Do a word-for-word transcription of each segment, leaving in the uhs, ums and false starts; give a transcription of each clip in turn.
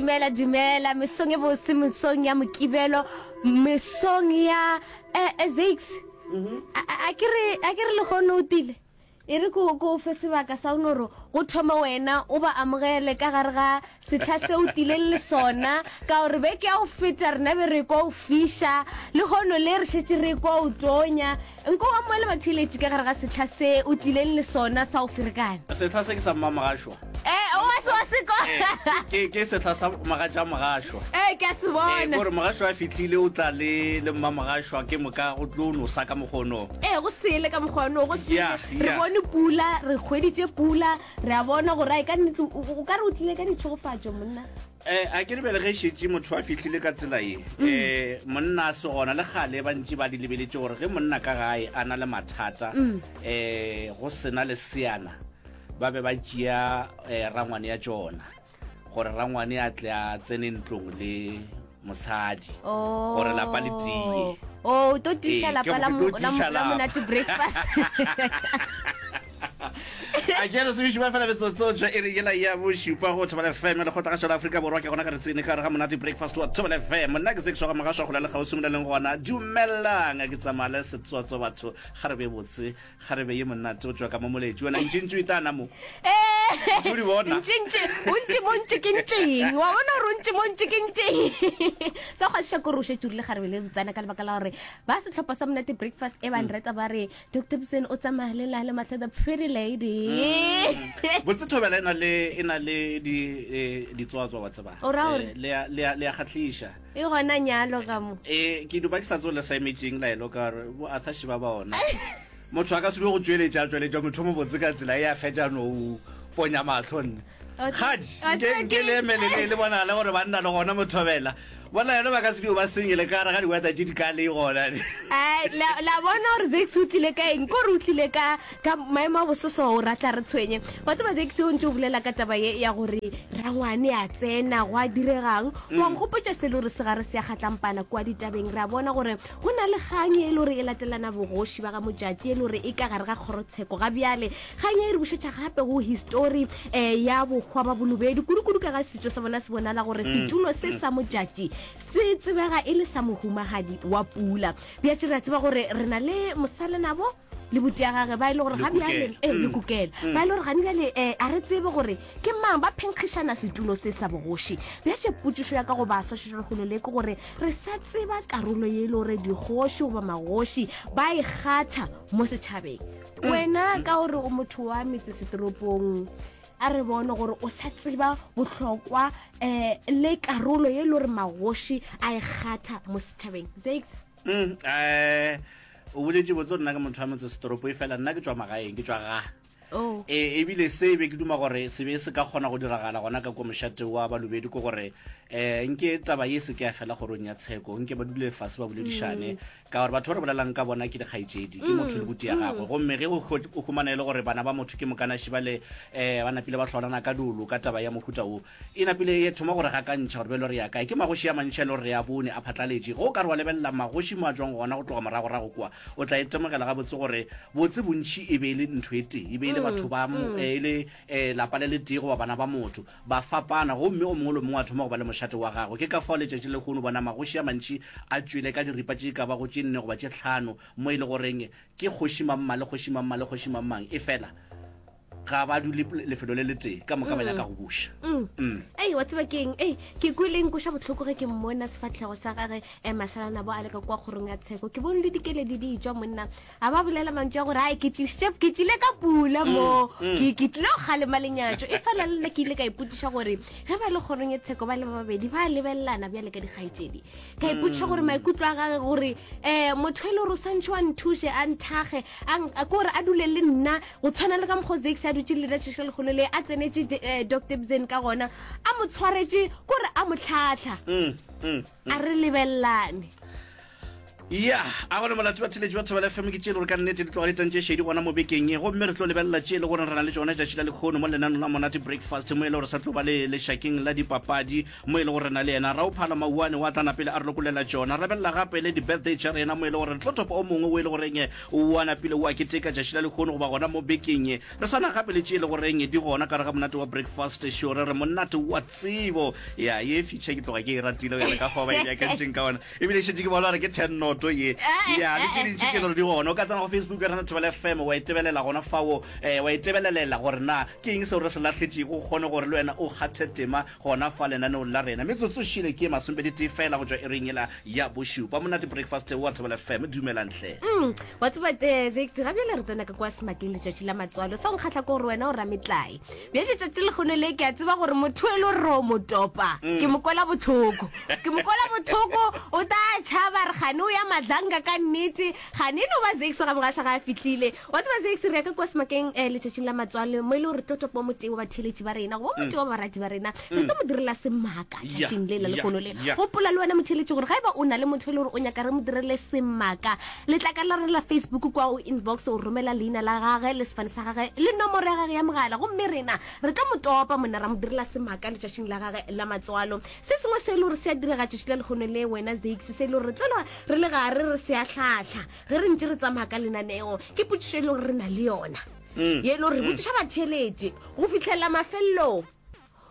Dumela, dumela, mesong e bose, mesong ya Mokibelo, mesong ya eh, eh, Zakes. A, a, a ke re, a ke re lehono o tile. E re ko ko fe sebaka sa o no re go thoma wena o ba amogele ka gare ga setlha se o tileng le sona, ka gore beke ya go feta rena be re kwa o fiša, lehono le re šetše re kwa o tonya. Nko o amoele batheeletši ka gare ga setlha se o tlileng le sona sa go ferekana. Setlha se ke sa Mmamogašwa. Eh, o wa se wa se kwa. Eh, ke ke setlha sa mogatša Mogašwa. Eh, ke a se Eh, bona. gore Mogašwa a fihlile o tla le le Mmamogašwa ke moka go tlo nosa ka mokgono. Eh, go sele ka mokgwa go sele. Yeah, Re yeah. bone pula, re hweditše pula, re a bona gore ai ka nnete o o ka re o tlile ka ditšhegofatšo monna. Eh, a ke re bjale ge šetše motho a fihlile ka tsela ye, eh, monna a se gona le kgale ba ntše ba di lebeletše gore ge monna ka gae a na le mathata, eh, go sena leseana, ba be ba tšea eh, rangwane ya tšona gore rangwane a tle a tsene ntlong le mosadi Oh. gore lapa le tie. Oh, o tlo tiša Ee, lapa ke la go mo- tlo la tiša mo- la lapa. Monate Breakfast. A ke re sebiši ba fela metsotso tša iri yela ya bošupa go Thobela F M lekgotlagašo la Afrika Borwa. Ke gona ka re tsene ka gare ga Monate Breakfast wa Thobela F M. Nna ke Zekišwa ga Mogašwa go la le kgauswi mo le leng gona. Dumelang, ke tsamaya le setswatso batho, ga re be botse, ga re be ye monate go tšwa ka mo moletši. Wena ntšintši o itana mo. Eh, Ntše o di bona. ntšintši, o ntši mo ntši ke ntšeng. Wa bona gore o ntši mo ntši ke ntšeng. Sa go kgahliša ke gore o šetše o rile kgarebe le botsana ka lebaka la gore ba sehlopha sa Monate Breakfast e ba nreta ba re Doctor Bsen o tsamaya le la le mahlo the pretty lady. Botse Thobela e na le e na le di eh, ditswatswa wa tseba. O ra gore? Eh, le a le a le a kgahliša. E gona nyalo ka mo. Eh, ke duba ke sa tsole sa emetšeng laelo ka gore bo Arthur Shiba ba ona. Motho a ka se dule go tšweletša tšweletša motho mo botse ka tsela e a fetša no o ponya mahlo nne. O Kgadi, o nke tseba nke ke- le emele le le bonagale gore banna le gona mothobela. Bona yona ba ka se dio ba senyele ka gare ga diwata tše di ka le gona. Ai, la la bona gore Zex o tlile ka eng, kore o tlile ka ka maemo a bososo o ratla re tshwenye. Wa tseba Zex o ntse o bolela ka taba ye ya gore rangwane a tsena go a diregang. Wa nkgopotša se le gore se gare se ya kgatlampana kua ditabeng. Re a bona gore go na le kgang e le gore e latelana bogoši ba ga Modjadji e le gore e ka gare ga kgorotsheko ga bjale. Kgang e re bušetša gape go histori eh, ya bohwa ba Bolobedu, kudu-kudu ka ga setšo sa bona se bonala gore setulo se sa Modjadji se tsebega e le sa mohumagadi wa pula. Bjatše re a tseba gore re na le mosalenabo le buti ya gage ba e le gore ga bjale Lekukela. eh, lekukela ba e le gore gane bjale eh, a re tsebe gore ke mang ba phenkgišana setulo se sa bogoši. Bjatše potšišo ya ka go baswa šetšo le ke gore re sa tseba karolo ye e le gore dikgoši goba magoši ba e kgatha mo setšhabeng. Wena ka gore o motho wa metsesetoropong, a re bone gore o sa tseba bohlokwa eh, le karolo ye le gore magoši a e kgatha mo setšhabeng. Zakes? Mm, eh o boletše botse gore nna ke motho wa motsesetoropo e fela nna ke tšwa magaeng, ke tšwa ga. Oh. E ebile se be ke duma gore se be se ka kgona go diragala gona ka kwa mošate wa Balobedu ke gore eh nke taba ye se ke ya fela kgorong ya tsheko, nke ba dule fase ba boledišane ka gore batho ba re bolelang ka bona ke dikgaetšedi, ke motho le buti ya gagwe. Gomme ge o hwe- o humana e le gore bana ba motho ke mokanaši ba le eh ba napile ba hlolana ka dolo ka taba ya mohuta wo, e napile e thoma gore gakantšha gore bjalo re ya kae. Ke magoši a mantši a le gore re a bone a phatlaletše. Ge o ka re wa lebelela magoši mo a tšwang gona go tloga moragorago kwa, o tla itemogela gabotse gore botse bontši e be e le ntho e tee, e be e le batho ba mo- eh, e le eh, lapa le le tee goba bana ba motho ba fapana, gomme o mongwe le mongwe a thoma go ba le mošate wa gagwe. Ke ka fao letšatši le lehono bona magoši a mantši a tšwele ka diripa tše ka bago tše nne goba tše hlano, mo e le goreng ke kgoši mamma le kgoši mamma le kgoši mammang, e fela ga ba dule lefelo le letee, ka moka ba nyaka go buša. Mm. Ei, wa tseba keng? Ei, ke kwele nkoša bohloko ge ke mmona sefahlego sa gage eh, masalanabo a le ka kwa kgorong ya tsheko. Ke bone le dikeledi di tšwa monna, a ba bolela mantšu a gore ai ke tlišitše ke tlile ka pula mo, ke ke tlile go kgalema lenyatšo. E fela le nna ke ile ka ipotšiša gore ge ba le kgorong ya tsheko ba le ba babedi ba lebelelana bjale ka dikgaetšedi. Ka ipotšiša gore maikutlo a gage gore um motho e le gore o swantšhe wa nthuše a nthage a nk- a- ke gore a dule le nna go tshwana le ka mokgwa Zakes a dutše le nna tšatši le lekgolo le a tsenetše eh, Doctor Bsen ka gona a mo tshwaretše kore a mo tlhatlha Mm, mm. a re lebelelane. Ya, a gona molato batheletši ba Thobela F M ke tše e le gore ka nnete di tloga di tantše šedi gona mo bekeng ye. Gomme re tlo lebelela tše e le gore re na le tšona tšatši la lekgono mo lenanong la Monate Breakfast, mo e le gore sa tlo ba le lešakeng la dipapadi, mo e le gore re na le yena Raophala Mauwane wa tla napele a re lokollela tšona. Re lebelela gape le di-birthday tša rena, mo e le gore re tlo topa o mongwe o e le goreng wa napile wa keteka tšatši la lekgono goba gona mo bekeng ye. Re sa na gape le tše e le goreng di gona ka gare ga Monate wa Breakfast Show, re re monate wa tsebo. Ya, ye feature ke tloga ke e ratile go ya le ka fao ba e beakantšeng ka gona. Ebile šetše ke bona gore ke ten noto ye. Ya, le tše dintši ke le gore di gona. O ka tsena go Facebook ya rena Thobela F M wa e tebelela gona fao, eh, wa e tebelelela gore na ke eng seo re se lahletšego, o kgone gore le wena o kgathe tema gona fa lenaneong la rena. Metsotso šile ke masomepedi tee fela go tšwa iring yela ya bošupa. Monate Breakfast wa Thobela F M, dumelang hle. Mm, wa tseba, eh, Zex, ga bjale re tsena ka kwa semakeng letšatši la matswalo. Sa o nkgahla ke gore wena o rametlae. Bjale letšatši le kgone le ke a tseba gore motho e le gore o mo topa. Mm. Ke mo kwela bohloko. Ke mo kwela bohloko, o tla tšhaba re gane o ya madlanga ka nnete. Gane e no ba Zex ga mogaša ga a fihlile. Wa tseba Zex, re ya ka kwa semakeng, eh, letšatšing la matswalo, mo e le gore re tlo topa motee wa batheeletši ba rena, goba motee wa barati ba rena. Re tlo mo direla semaka Ya, tšatšing le la ya, lekgono le. ya. Gopola le wena motheeletši gore ga eba o na le motho e le gore o nyaka re mo direle semaka, letlaka la rena la Facebook kwa o inbox, o romela leina la gage le sefane sa gage le nomoro ya gage ya mogala, gomme rena re tlo mo topa monna ra mo direla semaka letšatšing la gage la matswalo. Se sengwe se e le gore se a direga tšatši la lekgono le wena Zex, se e le gore re tlo re le gare re se a hlahla ge re ntše re tsamaya ka lenaneo, ke potšišo e le gore re na le yona. Mm. Ye e le gore re botšiša batheeletši go fihlela mafelelong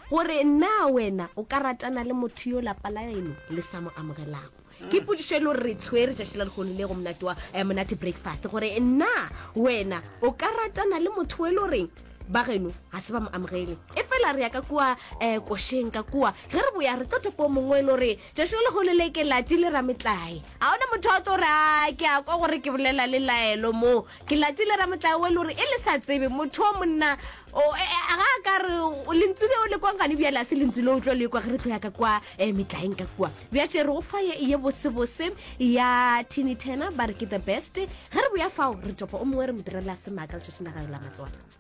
gore na wena o ka ratana le motho yo lapa la eno le sa mo amogelago. Ke potšišo e le gore re tshwere tšatši la lekgono le go monate wa, eh, Monate Breakfast, gore na wena o ka ratana le motho e le goreng ba geno ga se ba mo amogele. E fela re ya ka kua, eh, košeng ka kua, ge re boya re tlo topa o mongwe e le gore tšatši la lekgono le ke latile rametlae. Ga ona motho a tlo re, a, ke a kwa gore ke bolela le laelo mo. Ke latile rametlae o e le gore e le sa tsebe motho o monna, o, e, e, ga a ka re, o, lentswe leo le kwang gane bjale a se lentswe leo o tlo le kwa ge re tlo ya ka kua, eh, metlaeng ka kua. Bjatše re go fa ye, ye bosebose ya Tini Turner, ba re ke the best. Ge re boya fao re topa o mongwe re mo direla semaka letšatšing la gagwe la matswalo.